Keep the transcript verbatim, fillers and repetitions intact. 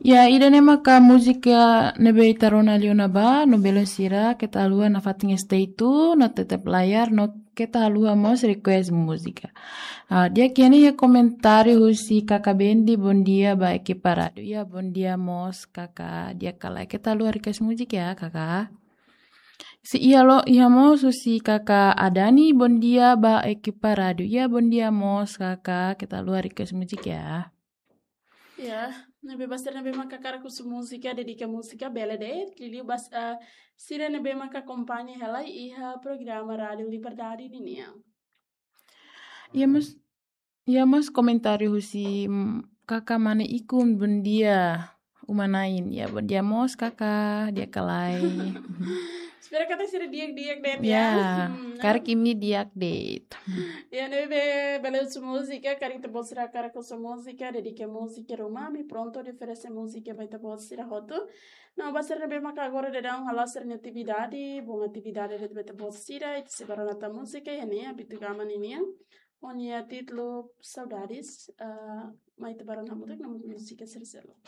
Ya, ida-ne'e maka múzika ne'ebé ita rona liu ona ba, no belun sira, keta haluha nafatin stay tune, no tetap layar, no keta haluha mós request múzika. Ah, di'ak, iha ne'e iha komentáriu husi Kaka Bendi, bondia ba ekipa rádiu. Ya, bondia mós Kaka, di'ak ka lae, keta haluha request múzika ya, Kaka. Se iha lo, iha mós husi Kaka Adani, bondia ba ekipa rádiu. Ya, bondia mós Kaka, keta haluha request múzika ya. Ya, ne'ebé ba sira ne'ebé maka hakarak husu múzika, dedika múzika, bele de'it, liuliu ba, eh, sira ne'ebé maka akompaña hela iha programa Rádiu Liberdade ninian. Ya mós, ya mós komentáriu husi, mm, Kaka Mane Ikun, bondia, uma-na'in. Ya, bondia mós Kaka, di'ak ka lae. Espera katak sira di'ak-di'ak de'it ya. Ya, hmm, karik imi di'ak de'it. Ya, ne'ebé bele husu múzika, karik ita-boot sira hakarak husu múzika, dedika múzika ruma, ami prontu hodi oferese múzika ba ita-boot sira hotu. No ba sira ne'ebé maka agora daudaun hala'o sira-nia atividade, bom atividade de'it ba ita-boot sira, ita sei bá rona tan múzika, iha ne'e, Abitu Gama ninian. Ho nia títulu Saudades, ah, mai ita bá rona hamutuk, no múzika sira seluk.